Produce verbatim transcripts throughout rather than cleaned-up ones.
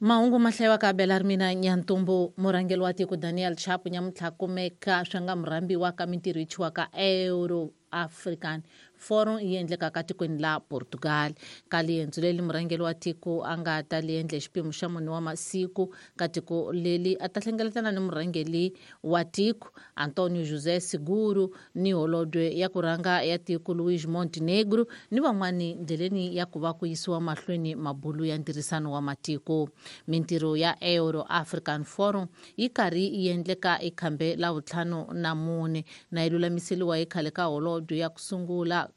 Mahungu ma hlayiwaka Bela ri mina Nyantumbu. Murhangeri wa tiko Daniel Chapo nyamuntlha kumeka swi nga murhambiwa ka mintirho yi chiwaka Euro African Forum yi endlekaka tikweni la Portugal. Ka liendzo leli murhangeri wa tiko a nga ta li endla xipimo xa mune wa masiku ka tiko leli a ta hlengeletana ni murhangeri wa tiko Antonio José Seguro ni holobye ya ku rhanga ya tiko Luís Montenegro ni van'wani ndleleni ya ku va ku yisiwa mahlweni mabulu ya ntirhisano wa matiko. Mintirho ya Euro African Forum yi karhi yi endleka ekhambe la vutlhanu na mune na yi lulamiseliwa hi khale ka holobye ya ku sungula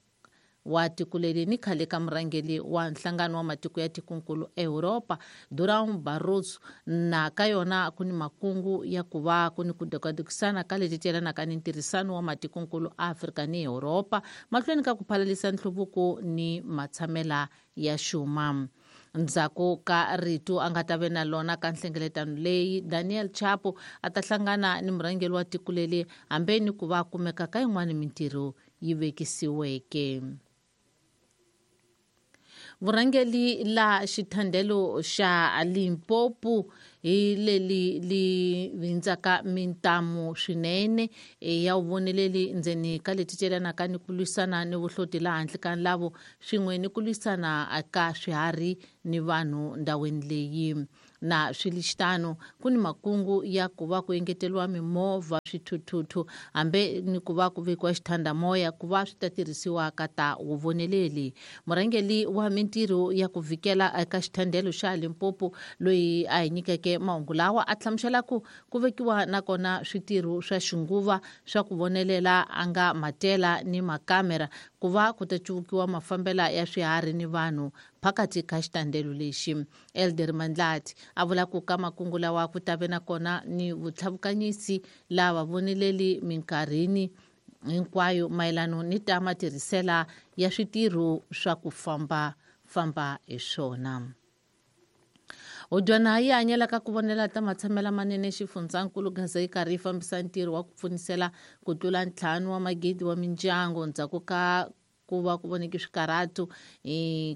wa tiko leri ni khale ka murhangeri wa nhlangano wa matiko ya tikonkulu Europa Durão Barroso. Na ka yona ku ni makungu ya ku va ku ni ku dekadekisana ka leti tyelanaka ni ntirhisano wa matikonkulu Afrika ni Europa mahlweni ka ku phalalisa nhluvuko ni matshamela ya xuma. Ndzhaku ka rito a nga ta ve na lona ka nhlengeletano leyi Daniel Chapo a ta hlangana ni murhangeri wa tiko leri hambe ni ku va kumeka ka yin'wana mintirho yi vekisiweke. Vurhangeri la xithandelo xa Limpopo hi leli li vindzaka mintamu swinene ya vuvoneleli ndzeni ka leti celanaka ni ku lwisana ni vuhloti laha handle ka nlavo swin'we ni ku lwisana ka swiharhi ni vanhu ndhawini leyi. Na swilixitano ku ni makungu ya ku va ku engeteriwa mimovha swithuthuthu hambe ni ku va ku vekiwa xithandamoya ku va swi ta tirhisiwa ka ta vuvoneleli. Murhangeri wa mintirho ya ku vikela eka xithandelo xa Limpopo loyi a hi nyikeke mahungu lawa a hlamusela ku ku vekiwa nakona switirho swa xinguva swa ku vonelela a nga matela ni makamera ku va ku ta cuvukiwa mafambela ya swiharhi ni vanhu phakathi ka xitandelo lexi. Elder Mandlati a vula ku ka makungu lawa ku ta ve nakona ni vutlhavukanyisi lava voneleli minkarhini hinkwayo mayelano ni ta matirhisela ya switirho swa ku famba famba hi swona. Hudyana yi hanyelaka ku vonela ta matshamela manene xifundzankulu Gaza yi karhi yi fambisa ntirho wa ku pfunisela ku tlula ntlhanu wa magidi wa mindyangu ndzhaku ka ku va ku voneke swikarhatu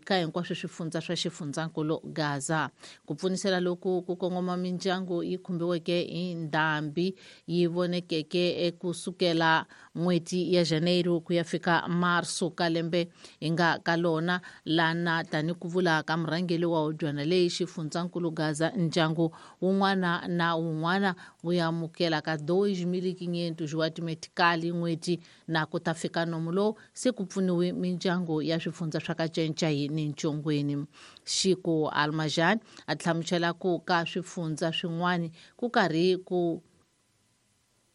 ka hinkwaswo swifundza swa xifundzankulu Gaza. Ku pfunisela loku ku kongoma mindyangu yi khumbiweke hi ndhambi yi vonekeke kusukela n'hweti ya Janeiro ku ya fika Marso ka lembe hi nga ka lona lana tani ku vula ka murhangeri wa hudyana leyi xifundzankulu Gaza ndyangu wun'wana na wun'wana wu amukela ka dois mil e quinhentos wa timetikali n'hweti na ku ta fika nomu lowu se ku pfuniwe mindyangu ya swifundza swa ka Nchenchai ni Ntshongweni. Xiko Almajan a hlamusela ku ka swifundza swin'wana ku karhi ku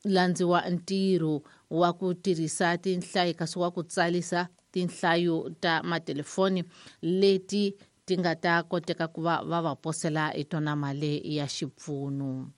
landziwa ntirho wa ku tirhisa tinhlayo kasi wa ku tsalisa tinhlayo ta matelefoni leti ti nga ta koteka ku va va va posela hi tona mali ya xipfuno.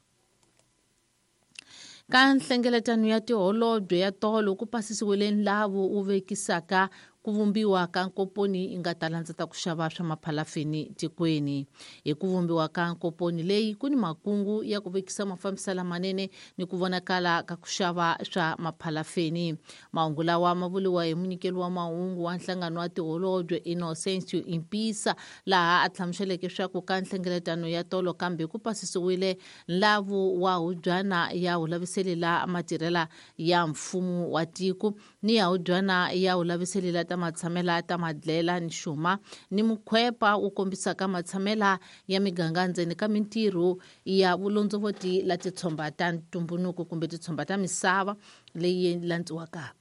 Ka nhlengeletano ya tiholobye ya tolo ku pasisiwile nlavu wu vekisaka ku vumbiwa ka nkoponi yi nga ta landza ta ku xava swa maphalafini tikweni. Hi ku vumbiwa ka nkoponi leyi ku ni makungu ya ku vekisa mafambiselo lamanene ni ku vonakala ka ku xava swa maphalafini. Mahungu lawa ma vuriwa hi munyikeli wa mahungu wa nhlangano wa tiholobye Innocencio Impisa laha a hlamuseleke swa ku ka nhlengeletano ya tolo kambe ku pasisiwile nlavu wa hubyana ya hulaviseli la matirhela ya mfumo wa tiko ni ya hubyana ya hulaviseli la ta matshamela ta madlela ni xuma ni mukhwepa wu kombisaka matshamela ya miganga ndzeni ka mintirho ya vulondzovoti la titshomba ta ntumbunuko kumbe titshomba ta misava leyi landziwaka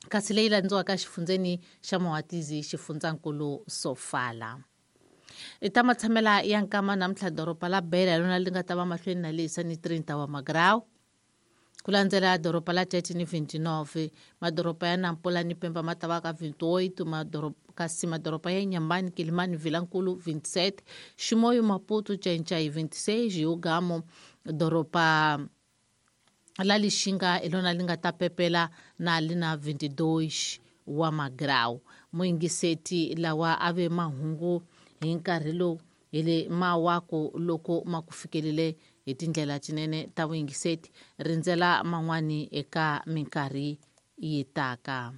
kasi leyi landziwaka xifundzeni xa Mohatizi xifundzankulu Sofala. I ta matshamela ya nkama namuntlha doroba la Beira lona li nga ta va mahlweni na leyisa ni trinta wa magrawu ku landzela doroba la Tete ni vinte e nove, madoroba ya Nampula ni Pemba ma ta va ka vinte e oito, madoroba kasi madoroba ya Inhambane, Quelimane, Vilankulu vinte e sete, Chimoio, Maputo, Ncaincaí vinte e seis, Ugamo doroba la Lixinga hi lona li nga ta pepela na li na vinte e dois wa magrawu. Muyingiseti lawa a ve mahungu hi nkarhi lowu hi le mawaku loko ma ku fikelele hi tindlela tinene ta vuyingiseti rindzela man'wani eka minkarhi yi taka.